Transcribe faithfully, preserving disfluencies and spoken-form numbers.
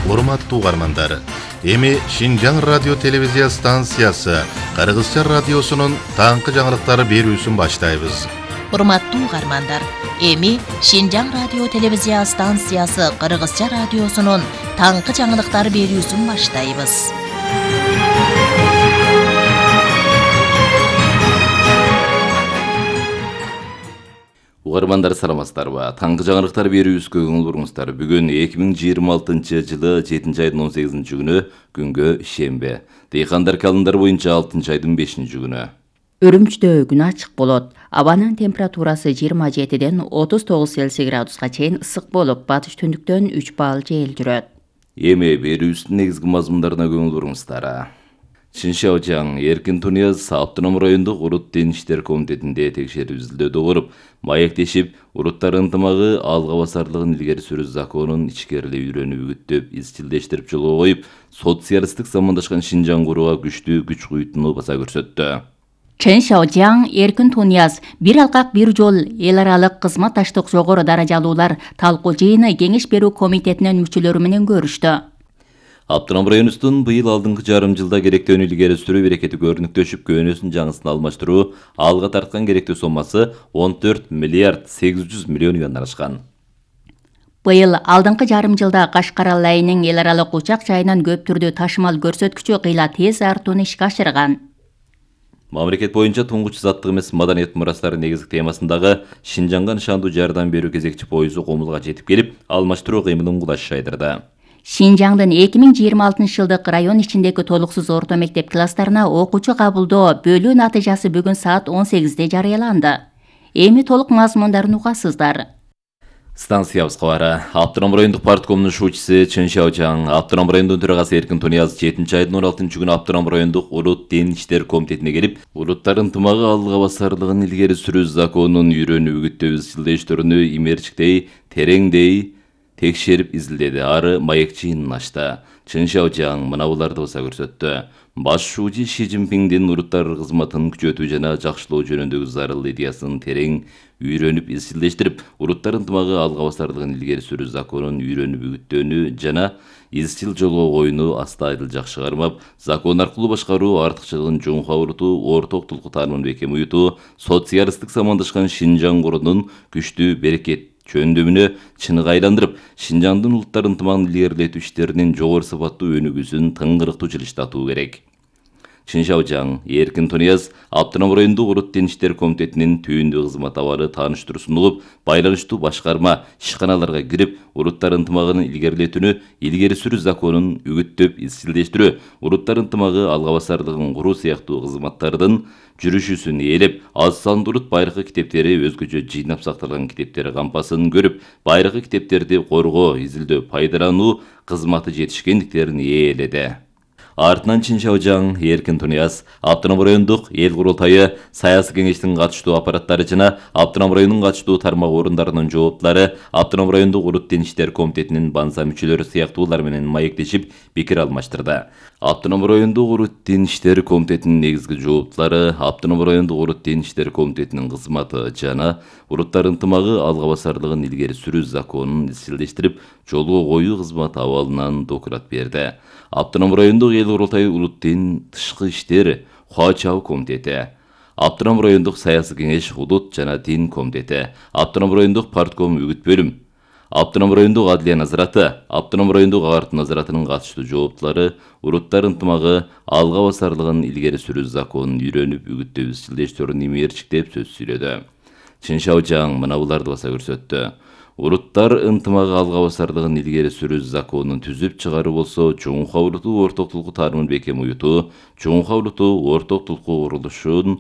Урматтуу угармандар, эми Шинжаң радио телевизия станциясы Кыргызча радиосунун таңкы жаңылыктары берүүсүн баштайбыз. Урматтуу угармандар, эми Шинжаң радио телевизия станциясы Кыргызча радиосунун таңкы жаңылыктары берүүсүн баштайбыз. Угармандар саламатсыздарбы? Таңкы жаңылыктар берүүбүзгө көңүл буруңуздар. Бүгүн эки миң жыйырма алтынчы жылы жетинчи айдын он сегизинчи күнү, күнгө шембе. Дыйкандар календар боюнча алтынчы айдын бешинчи күнү. Үрүмчүдө күн ачык болот. Абанын температурасы жыйырма жетиден отуз тогуз Цельсий градуска чейин ысык болуп, батыш түндүктөн үч балл жел жүрөт. Эми берүүбүздүн негизги мазмундарына көңүл буруңуздар. Чыншаожаң Эркин Тунияз автоном райондук урут ден иштер комитетинде текшерүү изилдөдө болуп, маектешип, уруттар ынтымагы алга басарлыгын илгери сүрүү законун ичкерилеп үйрөнүп үгүттөп, изчилдештирип жолго коюп, социалисттик замандашкан Шинжаң курууга күчтүү күч куюутуну баса көрсөттү. Чыншаожаң Эркин Тунияз бир алкак бир жол эл аралык кызматташтык жогору даражалуулар талкуу жыйыны кеңеш берүү комитетинин мүчөлөрү менен көрүштү. Автоном районубуздун быйыл алдыңкы жарым жылда керектөөнү илгери сүрүү берекети көрүнүктөшүп, көөнөсүн жаңысын алмаштыруу алга тарткан керектөө соммасы он төрт миллиард сегиз жүз миллион юандан ашкан. Быйыл алдыңкы жарым жылда Кашкар айынын эл аралык учак жайынан көп түрдүү ташымал көрсөткүчү кыйла тез артууну ишке ашырган. Мамлекет боюнча туңгуч заттык эмес маданият мурастары негизги темасындагы Шинжаңга нышандуу жардам берүү кезекчи поезу Комулга жетип келип, алмаштыруу кыймылын кулаш жайдырды. Шинжаңдын эки миң жыйырма алтынчы жылдык район ичиндеги толуксуз орто мектеп класстарына окуучу кабылдоо бөлүү натыйжасы бүгүн саат он сегизде жарыяланды. Эми толук мазмундарын угасыздар. Станциябызга бара. Автоном райондук парткомдун шуучусу Чыншаожаң, Автоном райондун төрагасы Эркин Тунияз жетинчи айдын он алтынчы күнү Автоном райондук урут ден иштер комитетине келип, уруттар ынтымагы алга басарлыгын илгери сүрүү законун үйрөнүп үгүттөө изчилдештөрүнү имерчиктей, тереңдей текшерип изилдеди. Ары маек жыйынын ачты. Чыншаожаң мына буларды баса көрсөттү. Баш шуучу Ши Цзиньпиңдин уруттар кызматын күчөтүү жана жакшылоо жөнүндөгү зарыл идеясын терең үйрөнүп изчилдештирип, уруттар ынтымагы алга басарлыгын илгери сүрүү законун үйрөнүп үгүттөөнү жана изчил жолго коюуну аста айдыл жакшы кармап, закон аркылуу башкаруу артыкчылыгын жоңко урутуу, орток тулку таанымын бекем уютуу, социалисттик замандашкан Шинжаң курунун күчтүү берекет чөндүмүнө чыныгы айландырып, Шинжаңдын улуттар ынтымагын илгерилетүү иштеринин жогору сапаттуу өнүгүүсүн тыңгырыктуу жылыштатуу керек. Чыншаожаң Эркин Тунияз Автоном райондук урут ден иштер комитетинин түйүндүү кызмат абары тааныштыруу сунулуп, байланыштуу башкарма, ишканаларга кирип, уруттар ынтымагын илгерилетүүнү илгери сүрүү законун үгүттөп изчилдештирүү, уруттар ынтымагы алга басарлыгын куруу сыяктуу кызматтардын жүрүшүүсүн ээлеп, аз сандуу урут байыркы китептери өзгөчө жыйнап сакталган китептер кампасын көрүп, байыркы китептерди коргоо, изилдөө, пайдалануу кызматы жетишкендиктерин ээледи. Артынан Чыншаожаң Эркин Тунияз Автоном райондук эл курултайы, саясий кеңештин катыштуу аппараттары жана Автоном районунун катыштуу тармак орундарынын жооптулары, Автоном райондук урут ден иштер комитетинин банса мүчөлөрү сыяктуулар менен маектешип, пикир алмаштырды. Автоном райондук урут ден иштер комитетинин негизги жооптулары, Автоном райондук урут ден иштер комитетинин кызматы жана уруттар ынтымагы алга басарлыгын илгери сүрүү законун изчилдештирип, жолго коюу кызматы абалынан доклад берди. Автоном райондук эл курултайы улут ден тышкы иштер Хуачау комитети, Автоном райондук саясий кеңеш улут жана дин комитети, Автоном райондук партком үгүт бөлүм, Автоном райондук адлия назараты, Автоном райондук агартуу назаратынын катыштуу жооптулары уруттар ынтымагы алга басарлыгын илгери сүрүү законун үйрөнүп үгүттөө изчилдештөрүн имерчиктеп сөз сүйлөдү. Чыншаожаң мына буларды баса көрсөттү. Уруттар ынтымагы алга басарлыгын илгери сүрүү законун түзүп чыгаруу болсо, жоңко урутуу орток тулку таанымын бекем уютуу, жоңко урутуу орток тулку курулушун